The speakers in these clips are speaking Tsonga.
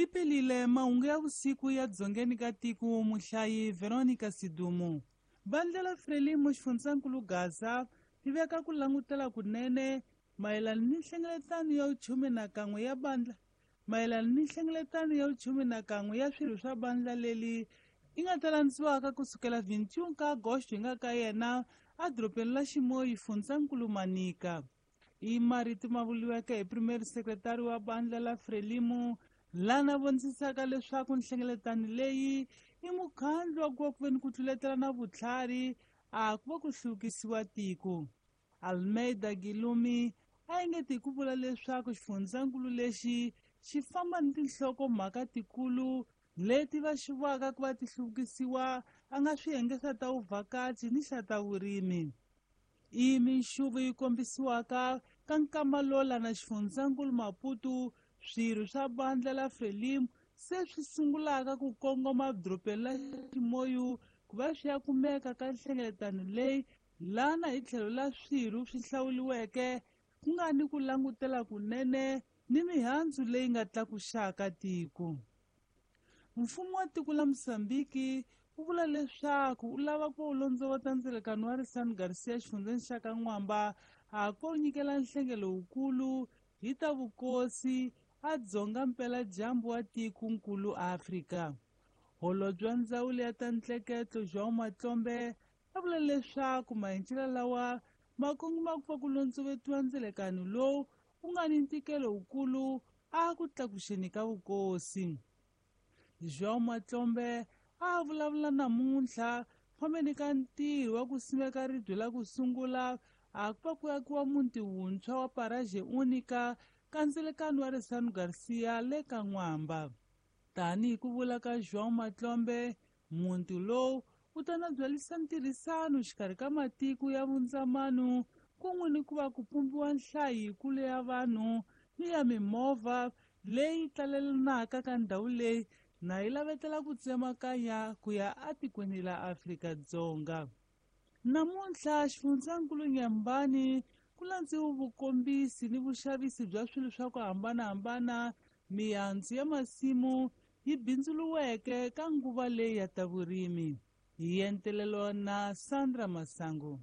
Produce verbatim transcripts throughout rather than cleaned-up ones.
Lipelile mahungu ya vusiku ya dzongeni ka tiko muhlayi Veronica Sidumo. Vandla la Frelimo xifundzankulu Gaza li veka ku langutela kunene mayelana ni nhlengeletano ya vuchume na kan'we ya bandla mayelana ni nhlengeletano ya vuchume na kan'we ya swirho swa bandla leli yi nga ta landziwaka kusukela vintiun ka agosto hi nga ka yena edorobeni la Ximoyi fundzankulu Manika. I marito ma vuriweke hi primary secretary wa bandla la Frelimo lana vonisisaka leswaku nhlengeletano leyi i mukhandlu wa ku va ku ve ni ku tluletela na vutlhari a ku va ku hluvukisiwa tiko. Almeida Gilumi a engeti hi ku vula leswaku xifundzankulu lexi xi famba ni tinhlokomhaka tikulu leti va xiwaka ku va ti hluvukisiwa a nga swiyenge swa ta vuvhakachi ni xa ta vurimi. I minxuvu yi kombisiwaka ka nkama lola na xifundzankulu Maputo swirho swa bandla la Frelimo se swi sungulaka ku kongoma edorobeni la Ximoyu ku va swi ya kumeka ka nhlengeletano leyi lana hi tlhelo la swirho swi hlawuriweke ku nga ni ku langutela kunene ni mihandzu leyi nga tlakuxaka tiko. Mfumo wa tiko la Mozambiki wu vula leswaku wu lava ku londzovota ndzelekano wa Risani Garcia xifundzeni xa ka N'wamba a ko nyikela nhlengelo wukulu hi ta vukosi a dzonga mpeladyambu wa tikonkulu Afrika. Holobye wa ndzawulo ya ta ntleketlo João Matlombe a vula leswaku maendlelo lawa ma kongoma ku va ku londzovetiwa ndzelekano lowu wu nga ni ntikelo wukulu a ku tlakuxeni ka vukosi. João Matlombe a vulavula namuntlha fambeni ka ntirho wa ku simeka ribye la ku sungula a ku va ku akiwa muti wuntshwa wa Paraje Unica ka ndzelekano wa Risani Garcia le ka N'wamba. Tanihi ku vula ka João Matlombe, muti lowu wu ta na byalisa ntirhisano xikarhi ka matiko ya vundzamano kun'we ni ku va ku pumbiwa nhlayo yikulu ya vanhu ni ya mimovha leyi talelanaka ka ndhawu leyi na yi lavetela ku tsemakanya ku ya atikweni la Afrika-Dzonga. Namuntlha xifundzankulu Nyambani ku landziwe vukombisi ni vuxavisi bya swilo swa ku hambanahambana mihandzu ya masimu yi bindzuriweke ka nguva leyi ya ta vurimi. Hi entelelo na Sandra Masango.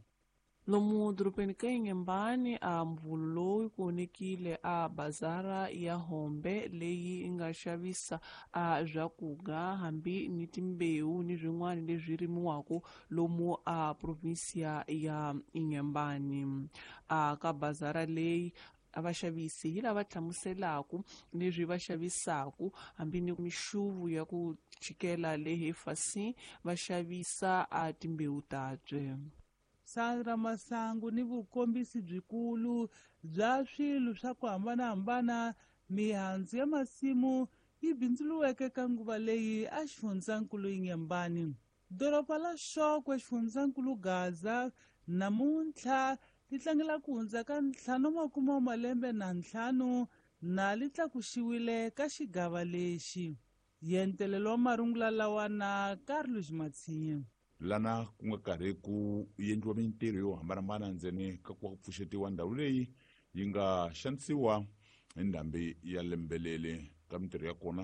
Lomu dorobeni ka Inhambane a mvulu lowu ku onekile a bazara ya Hombe leyi nga xavisa a swakudya hambi ni timbewu ni swin'wana leswi rimiwaka lomu a provinsia ya Inhambane. A ka bazara leyi a vaxavisi hi lava hlamuselaka leswi va xavisaka hambi ni mixuvu ya ku chikela le hefasini va xavisa a timbewu tabye. Sandra Masangu ni vukombisi byikulu bya swilo swa ku hambanahambana mihandzu ya masimu yi bindzuriweke ka nguva leyi a xifundzankulu Inhambane. Doroba la Xokwe xifundzankulu Gaza namuntlha li tlangela ku hundza ka ntlhanu makume wa malembe na ntlhanu na li tlakuxiwile ka xigava lexi. Yentelelo wa marungula lawa na Carlos Matsinye. Lana ku nga karhi ku endliwa mintirho yo hambanahambana ndzeni ka ku pfuxetiwa ndhawu leyi yi nga xanisiwa hi ndhambi ya lembe leri ka mintirho ya kona.